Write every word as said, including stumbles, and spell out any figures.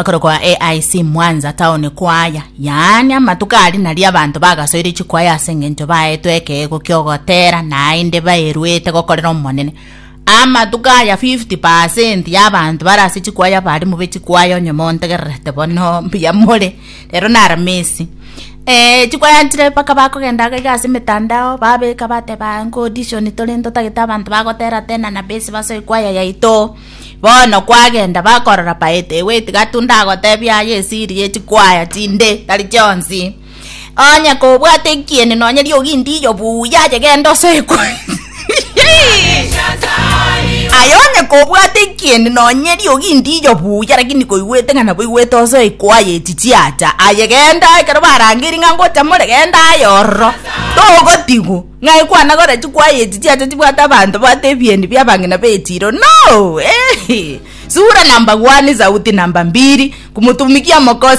Bakorokwa A I C Mwanza Town Choir. Yaani amatuko ari nari abanto bagasoire chikwaya ase eng'encho baetwe ekeego kiogotera naende baerwete gokorera omonene. Amatuko aya fifty percent ya abanto bare ase chikwaya, barimu be chikwaya, onye montegererete bono mbuya more. Rero na Aramisi eh, chikwaya nchire mpaka bakogenda iga ase emetandao babeka bateba nko audition tore, ntotagete abanto bagotera tena na base basoe kwaya yaito. Bono kwagenda bakorora paete ewe tiga ndagotebia aye esiri ye chikwaya chinde tari chionsi. Onye kobwate ekieni nonye riogi ndiyo buya aye genda osoe kwaya aye. Onye kobwate ekieni nonye riogi ndiyo buya, lakini koigwete ng'a nabo igwete osoe kwaya echi chiacha aye, genda ekero barangeri ng'a ngocha more, genda aye ororo togotigu ng'ai kwana kora chikwaya echi chiacha chibwate abanto bwate ebieni bia abang'ina bechiro no eh. Sura namba one, sauti namba mbili, kumutumikia mokosi.